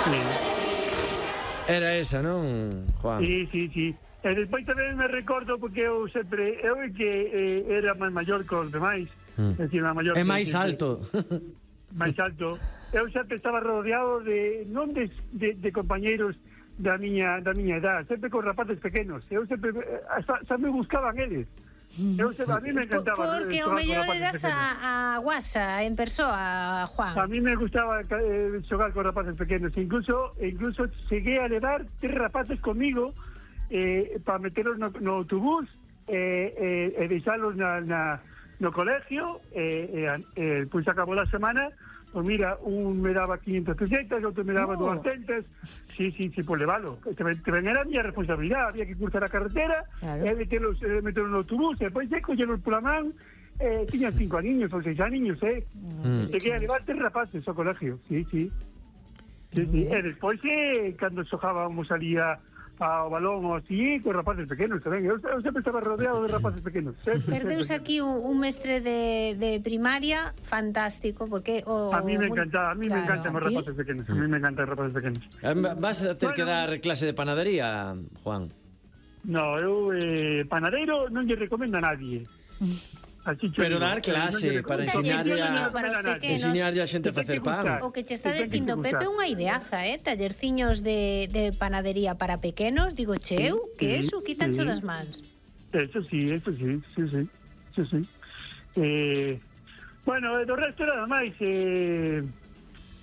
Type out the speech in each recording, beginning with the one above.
Sí. Era esa, non, Juan? Sí. E despois tamén me recordo porque eu é que era máis maior que os demais. É dicir, maior É que máis alto. máis alto. Eu sempre estaba rodeado non de compañeiros da miña edad, sempre con rapaces pequenos. Eu sempre xa me buscaban eles. A mí me encantaba. Porque o mellor eras a guasa en persoa, Juan. A mí me gustaba xogar con rapaces pequenos. Incluso cheguei a levar 3 rapaces comigo para meteros no autobús e deixalos no colegio. Pois acabou a semana. Pois mira, un me daba 500 pesetas, outro me daba 200. Sí, por leválo. Tamén era a miña responsabilidad. Había que cruzar a carretera, meterlos no autobús, e depois colleros pola man. Tiñan 5 aniños ou 6 aniños, Cheguei a levar 3 rapaces ao colegio. Sí. E despois, cando xogábamos salía ao balón ou así, con rapaces pequenos tamén. Eu sempre estaba rodeado de rapaces pequenos. Perdeuse aquí un mestre de primaria fantástico, porque a mí me encanta, os rapaces pequenos. A mí me encantan os rapaces pequenos. Vas a ter que dar clase de panadería, Juan? No, eu panadeiro non lle recomendo a nadie. Pero dar clase para ensinarlle a xente a facer pan. O que che está dicindo Pepe é unha ideaza, tallerciños de panadería para pequenos, digo cheu, que eso quitancho das mans. Eso sí. Bueno, do resto nada máis.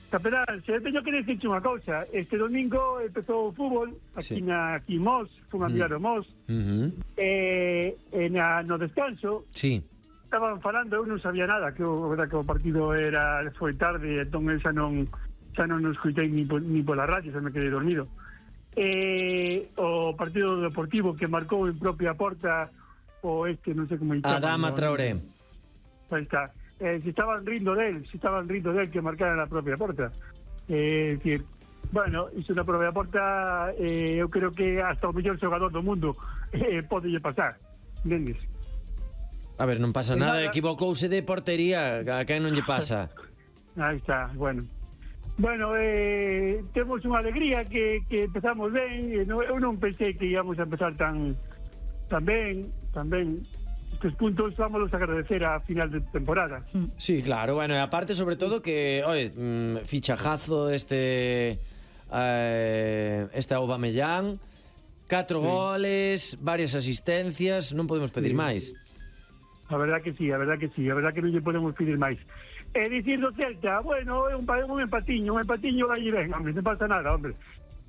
Capelán, teño que dicirche unha cousa. Este domingo empezou o fútbol aquí en Mos, fun a mirar o Mos. No descanso. Sí. Estaban falando, eu non sabía nada, que o partido foi tarde, entón xa non nos escuitei ni pola radio, xa me quedei dormido. O partido deportivo que marcou en propia porta o non sei como Adama Traoré. Aí está. Se estaban rindo del que marcara na propia porta. Decir, bueno, iso na propia porta, eu creo que hasta o mellor xogador do mundo podelle pasar, entendes? A ver, non pasa nada, equivocouse de portería, a quen non lle pasa. Aí está, bueno, temos unha alegría que empezamos ben. Eu non pensei que íamos a empezar tan ben. Estes puntos vámonos a agradecer a final de temporada. Sí, claro, bueno, e aparte sobre todo que, fichajazo este Aubameyang, 4 goles, varias asistencias, non podemos pedir máis. A verdad que non lle podemos pedir máis. E dicir do Celta, bueno, é un empatiño vai ben, hombre, non pasa nada, hombre.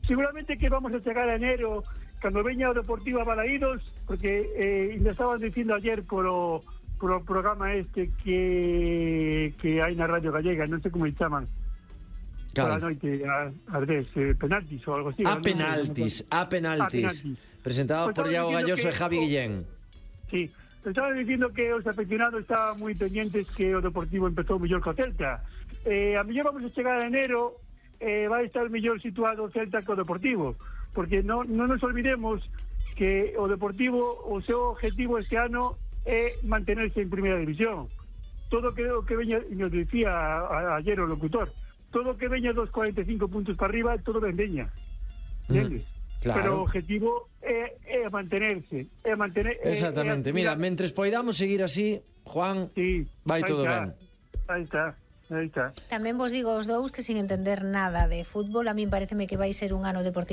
Seguramente que vamos a chegar a enero, cando veña o Deportivo a Balaídos, porque ainda estaban dicindo ayer polo programa este que hai na Radio Gallega, non sei como se chaman, pola noite, penaltis ou algo así. Penaltis, presentado por Iago Galloso e Javi Guillén. Sí. Estaba dicindo que os aficionados estaban moi pendientes que o Deportivo empezou mellor co Celta. A mellor vamos a chegar a enero, vai estar mellor situado o Celta co Deportivo, porque non nos olvidemos que o Deportivo, o seu objetivo este ano é mantenerse en primeira división. Todo que veña, nos dicía ayer o locutor, todo que veña dos 45 puntos para arriba, todo ben veña. ¿Entendes? Claro. Pero o objetivo é mantenerse, exactamente. Mira, mentres poidamos seguir así, Juan, vai todo ben. Aí está. Tamén vos digo os dous que sin entender nada de fútbol, a min pareceme que vai ser un ano deportivo